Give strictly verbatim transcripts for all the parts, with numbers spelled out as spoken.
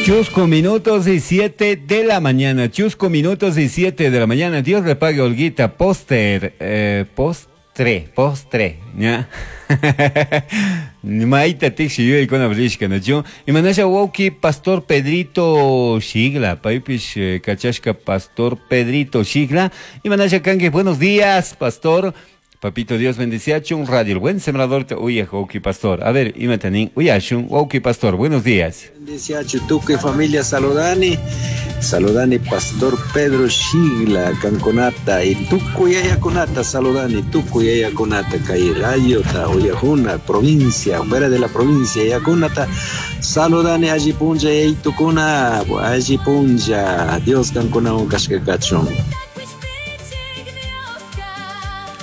Chusco minutos y siete de la mañana. Chusco minutos y siete de la mañana. Dios le pague, Olguita. Póster, eh, postre, postre, ¿ya? Maita tixi yuyaykuna rishka, nachu? Imanasha wawki Pastor Pedrito Shigla, paypish eh, kachashka Pastor Pedrito Shigla. Imanasha kanki, buenos días, Pastor. Papito Dios bendeciachun, Radio El Buen Sembrador, te uya wawki Pastor. A ver, imatanin, uyashun, wawki Pastor, buenos días. Bendeciachu, tukuy familia saludani, saludani Pastor Pedro Shigla, kankunata, y tukuy yayakunata saludani, tukuy yayakunata, kay radiota, uyajuna, provincia, fuera de la provincia, yayakunata, saludani alli punlla, yaytukuna, alli punlla, Dios kankunawan kashka kachun.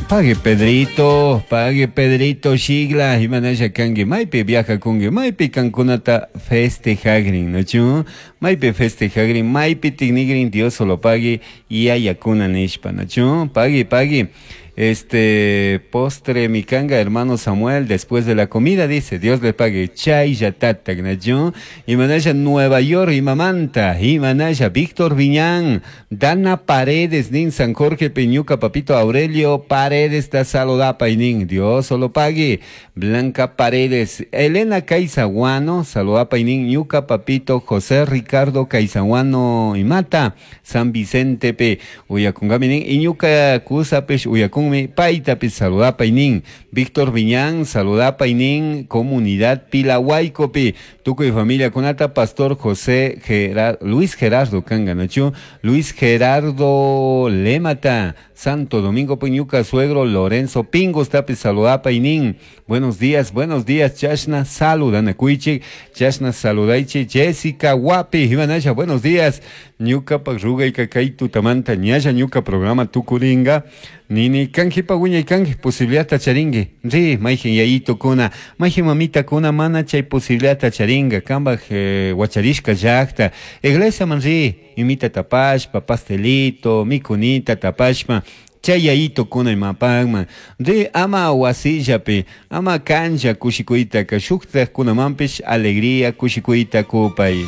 Pague Pedrito, pague Pedrito Shigla, imanasha kanki, maypi viaja kunki, maypi kankunata festejagrin, ¿no? Maypi festejagrin, maypi tignigrin, Dios solo pague, yayakuna nishpa, ¿no? Pague, pague. Este postre mi kanga, hermano Samuel, después de la comida, dice, Dios le pague, chay yatata, ¿no? Imanasha Nueva York, Imamanta, Imanasha Víctor Viñán, Dana Paredes, nin San Jorge Peñuca, Papito Aurelio Paredes, ta saludapa y nin, Dios solo pague, Blanca Paredes, Elena Caizaguano, saludapa y nin, Ñuca, Papito José Ricardo Caizaguano, Imata, San Vicente P, Uyacungami nin, Iñuca Cusapesh, Uyacungami, Paitapi, saludapa y nin, Víctor Viñán, saludapa y nin, Comunidad Pilahuaycopi, Tuco y familia Conata, Pastor José Gerard, Luis Gerardo Canganachu, Luis Gerardo Lemata, Santo Domingo Peñuca, suegro Lorenzo Pingos, tapi saludapa y nin. Buenos días, buenos días, Chashna, saludana cuichi, Chashna saludaichi, Jessica Guapi, Imanasha, buenos días, Ñuca Pagruga y Cacay Tutamanta, Ñaya Ñuca programa Tucuringa, Nini kanji paguña y kanji posibilidad tacharingue, ri, maijin yayito kuna, maijin mamita kuna, mana chay posibilidad tacharinga, kamba eh, guacharishka llakta, iglesia man ri, imita tapashpa, pastelito, mikunita tapashpa, chay yayito kuna imapagman, ri ama wasillapi, ama cancha kushikuytaka, shuktaj kunamanpish alegría kushikuyta kupay.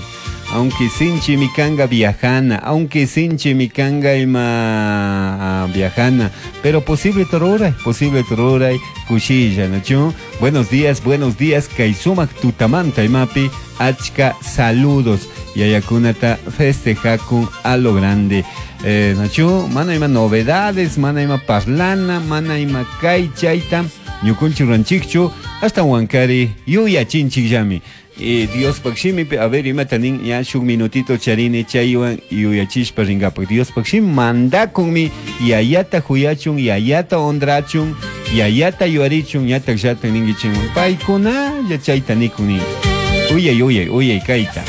Aunque sinchi mikanga viajana, aunque sinchi mikanga ima viajana, pero posible toruray, posible toruray, kushilla, ¿no? Buenos días, buenos días, Kaisumak tutamanta imapi, achka saludos, yayakunata festejakun a lo grande. Eh, Nachu, mana ima novedades, mana ima parlana, mana ima kay chayta, ñukunchi ranchikchu, hasta Huancari, yuya chinchik. Eh, Dios pakshimi, a ver, imatanin, ya shuk minutito charini chaywan yuyachishpa ringapak. Dios pakshimi mandakunmi, yayata huyachun, yayata hondrachun, yayata yuarichun, yatak yata ningichun. Paykuna, ya chayta nikun. Uyay, uyay, uyay, kaita.